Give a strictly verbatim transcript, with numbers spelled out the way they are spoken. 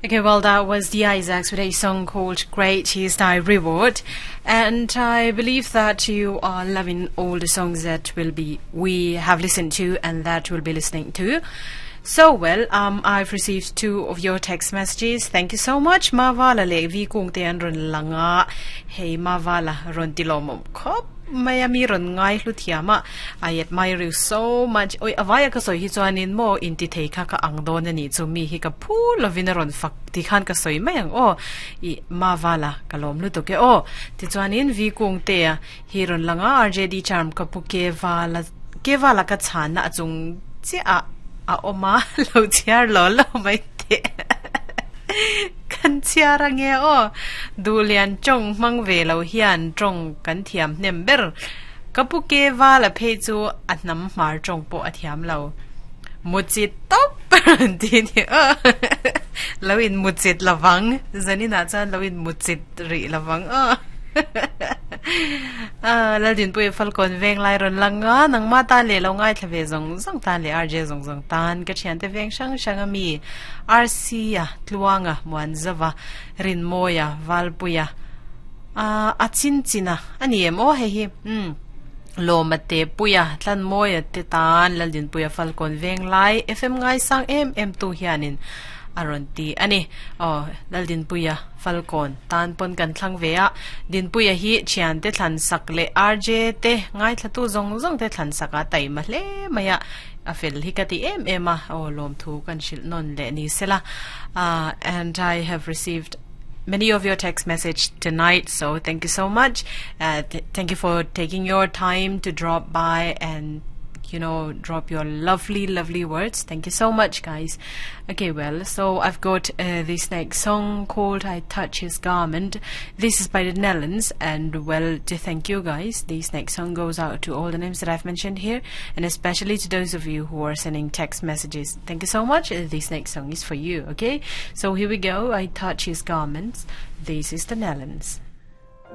Okay, well, that was the Isaacs with a song called Great Is Thy Reward. And I believe that you are loving all the songs that will be we have listened to and that we'll be listening to. So well, um, I've received two of your text messages. Thank you so much. Mavala le vi kung te an ron langa. Hey Mavala ron tilomom khop Miami ron ngai hlu thiama I admire you so much oi avaya ka soi hi chuanin mo in ti thei kha ka ang don ani chu mi hi ka phu lovin ron fak ti khan ka soi mai ang o i mavala kalom lu to ke o ti chuanin vi kung te a hi ron langa RJD charm ka pu ke wala ke wala ka chana achung chi a a oma lo chiar lo lo mai te kan chiara nge o dulian chong mang ve lo hian chong kan thiam hnem ber kapu ke wala phe chu a nam mar chong po a thiam lo muchi top ti ni o lo in muchit lawang zanina chan lo in muchit ri lawang o à la din pui fal kon veng lai ron langa nang ma ta le lo ngai thlave zong zong ta le rj zong zong tan ka thian te veng sang sang ami rc a tluanga muan zawa rin moya valpuya a a chin china ani em o he hi um lo ma te puya tlan moya te tan lal din puya falcon veng lai fm ngai sang em em tu hianin aron ti ani o laldin puya falcon tan pon kan thlang ve a din puya hi chian te thlan sak le rj te ngai thlatu zong zong te thlan saka tai ma hle maya a fel hi ka ti em em a o lom thu kan shil non le ni sela uh, and i have received many of your text message tonight so thank you so much uh, th- thank you for taking your time to drop by and you know drop your lovely lovely words thank you so much guys okay well so i've got uh, this next song called i touch his garment this is by the Nellans and well to thank you guys this next song goes out to all the names that i've mentioned here and especially to those of you who are sending text messages thank you so much Uh, this next song is for you okay so here we go i touch his garments this is the Nellans